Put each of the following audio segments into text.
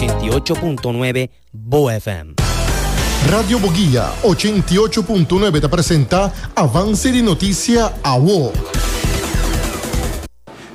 88.9 Bo FM. Radio Boguia 88.9 ta presenta Avance di Noticia Awo.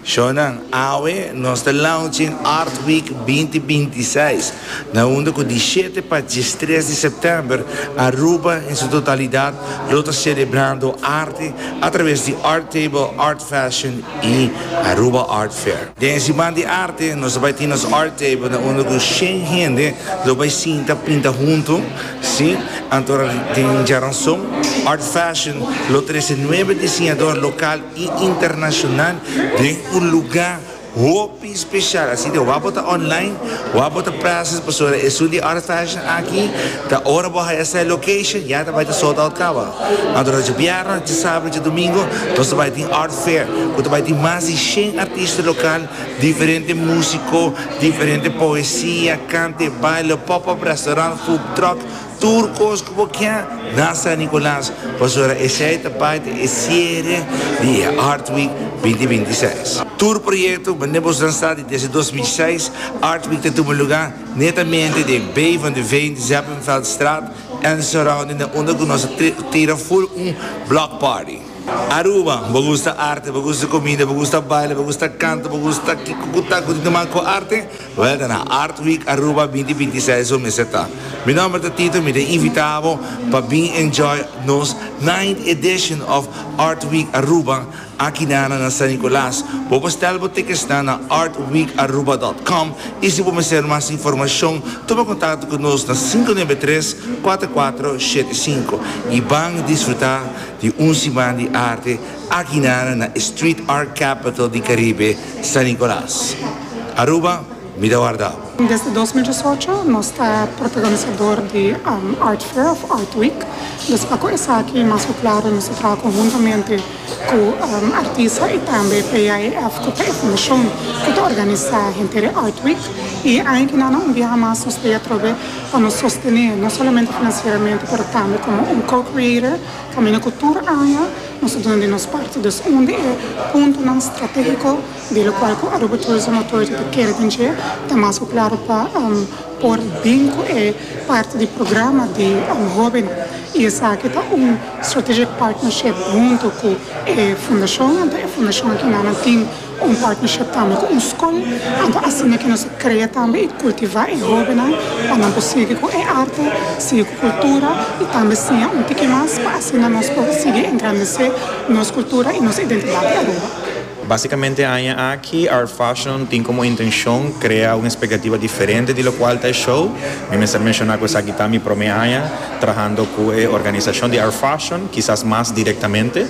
Shownan, awe nos ta launching Art Week 2026, na unda cu di shete pa diestres di september Aruba en su totalidad lo ta celebrando arte a traves di Art Table, Art Fashion y Aruba Art Fair. Den e siman di arte nos ta bay tin nos Art Table na unda cu shen hende lo bay sinta pinta hunto, si, anto den djaranson Art Fashion lo trece nuebe diseñador local y internacional den un lugar hopi special. Así que wak bo ta online, wak bo ta present pasobra esun di Art Fashion aki ta ora bo haya sa e location ya ta bai ta sold out caba. Anto ta djabièrnè, djasabra, djadumingo nos ta bai tin Art Fair cu ta bai tin mas di shen artista local, diferente musico, diferente poesia, cante, baile, pop-up restaurant, food truck. Tur kos ku bo kia na San Nicolas, pasobra esei ta parti e siere di e Art Week 2026. Tur proyekto manera boso nan sa di desde 2006 Art Week ta tuma luga netamente den Bay van de Veen, Zeppenfeldstraat en surrounding na unda ku nos a tira full un block party. Aruba, bo gusta arte, bo gusta comida, bo gusta baile, bo gusta canta, bo gusta kico cu ta cu tin te man cu arte? Wel ta na Art Week Aruba 2026 bo mester ta. Mi nomber ta Tito, mi ta invita bo pa bin enjoy nos ninth edition of Art Week Aruba aki na na San Nicolas. Bo por stel bo ticketsnan na artweekaruba dot com y si bo mester mas informacion tuma contacto cu nos na 593 4475 y ban disfruta Di un siman di arte aki nana na e Street Art Capital di Caribe, San Nicolas. Aruba, mi ta warda bo. Desde 2018 nos ta protagonisador di Art Fair of Art Week. Dus pa ku esaki mas ku klaro nos ta traha konhuntamente ku artista i tambe PAEF ku ta e fundashon ku ta organisá henter e Art Week. I e aña ki nana un biaha mas nos ta e atrobe pa nos sostené no solamente finansieramente pero tambe komo un co-creator kaminda ku tur aña nos ta duna di nos parti. Dus un di e puntonan stratégiko di lokual ku Aruba Tourism Authority ta kere den dje ta mas ku klaro pa por bin ku e parti di programa di hóbennan i esaki ta un strategic partnership huntu ku e fundashon anto e fundashon aki nan tin Un partnership tambe ku un skol, anto asina ke nos a krea tambe i kultivá e hóbennan pa nan por sigui ku e arte, sigui ku kultura i tambe siña un tiki mas pa asina nos por sigui engrandesé nos kultura i nos identidat di Aruba. Básicamente aña aki Art Fashion tin como intencion crea un expectativa diferente di locual ta e show. Mi mester menciona cu esaki ta mi prome aña trahando cu e organisacion di Art Fashion, kisas mas directamente.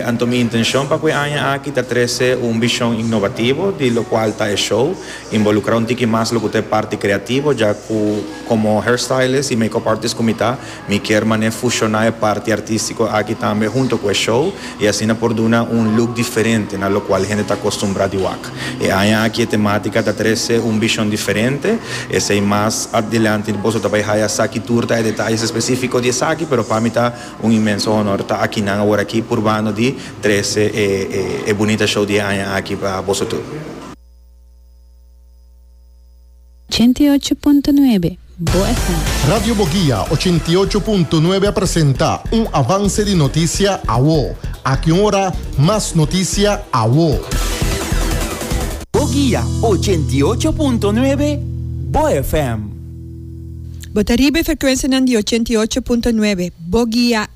Anto mi intencion pa cu e aña aki ta trece un vision innovativo di locual ta e show, involucra un tiki mas loke ta e parti creativo, ya cu como hairstylist y makeup artist cu mi ta, mi kier mane fusiona e parti artistico aki tambe hunto cu e show y asina por duna un look diferente na locual hende ta acostumbra di wak. E aña aki e tematica ta trece un vision diferente, esey mas adilanti boso ta bay haya sa ki tur ta e detayes especifico di esaki, pero pa mi ta Un inmenso honor ta akinan awor aki purbando di trece e e bunita show di e aña aki pa boso tur. 88.9 Bo FM. Radio Boguia 88.9 a presenta un avance di noticia awo. Aki un ora mas noticia awo. Boguia 88.9 Bo FM. Bo ta riba e frekuensianan di 88.9 Bo Guia.